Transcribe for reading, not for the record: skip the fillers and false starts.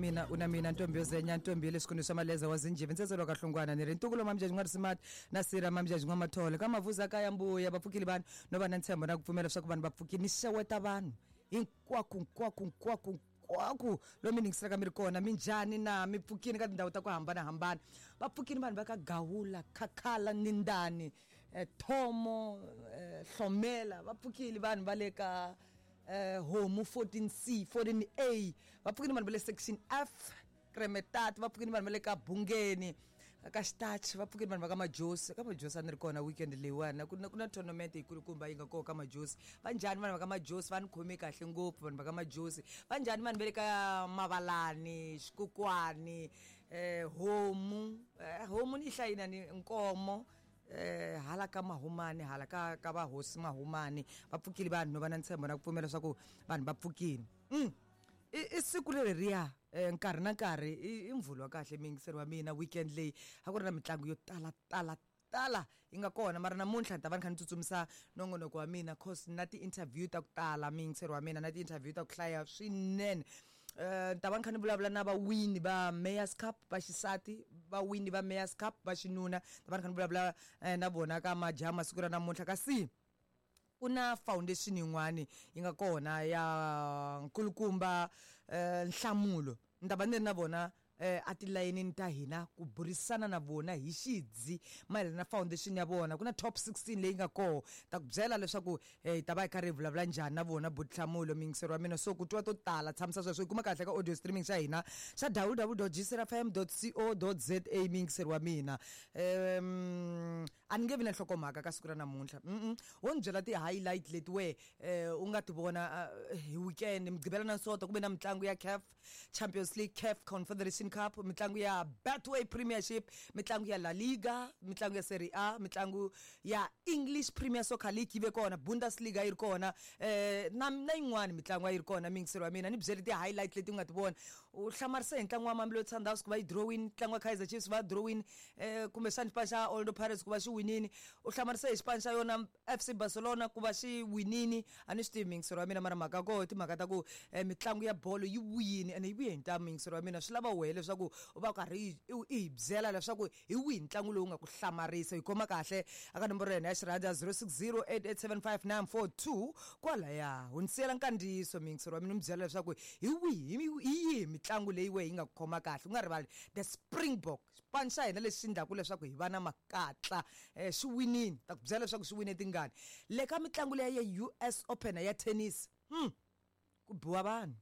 Mina u na mina ntombi yo zenya ntombi ya le swikundu swa maleza wa zinjivi ntsetselo ka hlongwana ni ri ntukulu mamjaji n'wa risimati na sira mamjaji n'wa mathole ka mavuza kaya mbuya va pfukile vanhu no va na ntshembo na ku pfumela leswaku vanhu va pfukile ni xeweta vanhu hinkwako hinkwako hinkwako hinkwako lomu mi ningiselaka mi ri kona minjhani na mi pfukini ka tindhawu ta ku hambanahambana va pfukini vanhu va ka gawula khakhala nindani eh, thomo eh, hlomela va pfukile vanhu va le ka eh, homu 14c 14a va pfukile vanhu va le section f kremetat va pfukile vanhu va le ka bungeni ka xitachi va pfukile vanhu va ka majosi ka majosi a ni ri kona weekend leyiwani ku na ku na tournament yikulukumba yi nga kona ka majosi va njhani vanhu va ka majosi va ni khome kahle ngopfu vanhu va ka majosi va njhani vanhu va le ka mavalani xikukwani eh, homu eh, homu ni yi hlayina ni nkomo eh hala ka mahumani hala ka ka vahosi mahumani va pfukile vanhu no va na ntshembo na ku pfumela leswaku vanhu va pfukile i, i siku leri riya eh, nkarhi na nkarhi i, i mvhulo wa kahle miyingiseri wa mina weekend leyi a ku ri na mitlangu yo tala tala tala yi nga kona mara namuntlha ni ta va ni kha ni tsutsumisa nongonoko wa mina cause na ti-interview ta ku tala miyingiseri wa mina na ti-interview ta ku hlaya swinene. Eh, ni ta va ni kha ni vulavula na vawini va Mayors Cup va xisati, vawini va Mayors Cup va xinuna, ni ta va ni kha ni vulavula eh, na vona ka majaha masiku ra namuntlha. Kasi ku na foundation yin'wani yi nga kona ya nkulukumba eh, Nhlamulo, ni ta va ni ri na vona eh, a tilayenini ta hina ku burisana na vona hi xidzi mayelana na foundation ya vona. Ku na top 16 leyi nga koho, ta ku byela leswaku eh, hi ta va hi karhi hi vulavula njhani na vona butihlamulo miyingiseri wa mina. So ku twa to tala tshamisa sweswo yi kuma kahle ka audio streaming xa hina xa www.gcrfm.co.za miyingiseri wa mina. A ni nge vi na nhlokomhaka ka siku ra namuntlha. Wo ni byela ti-highlight leti we eh, u nga ti vona hi weekend mugqivela na sonto ku ve na mitlangu ya CAF Champions League, CAF Confederation Cup, mitlangu ya Betway Premiership, mitlangu ya La Liga, mitlangu ya Serie A, mitlangu ya English Premier Soccer League yi ve kona, Bundesliga yi ri kona, eh, na na yin'wani mitlangu a yi ri kona miyingiseri wa mina. Ni byeli ti-highlight leti u nga ti vona. U hlamarise hi ntlangu wa Mamelodi Sundowns ku va yi drawini, ntlangu wa Kaizer Chiefs va drawini, eh, kumbexana xipano xa Orlando Pirates ku va xi winini. U hlamarise hi xipano xa yona FC Barcelona ku va xi winini. A ni swi tivi miyingiseri wa mina, mara mhaka ya koho i timhaka ta ku eh, mitlangu ya bolo yi vuyini ene yi vuye hi ntamu miyingiseri wa mina. Swi lava wehe leswaku u va u karhi i hi byela leswaku hi wihi ntlangu lowu nga ku hlamarisa. Hi khoma kahle aka nomboro ya hina ya xirhandza 0608875942 kwalaya. Hundzisela nkandziyiso miyingiseri wa mina, u mi byela leswaku hi wihi hi yihi mitlangu leyi wehe yi nga ku khoma kahle. U nga rivali the Springbok, xipano xa hina lexi endlaku leswaku hi va na makatla eh, xi winini. Ta ku byela leswaku xi wine tingani le ka mitlangu leya ya US Open ya tennis. Ku biwa vanhu.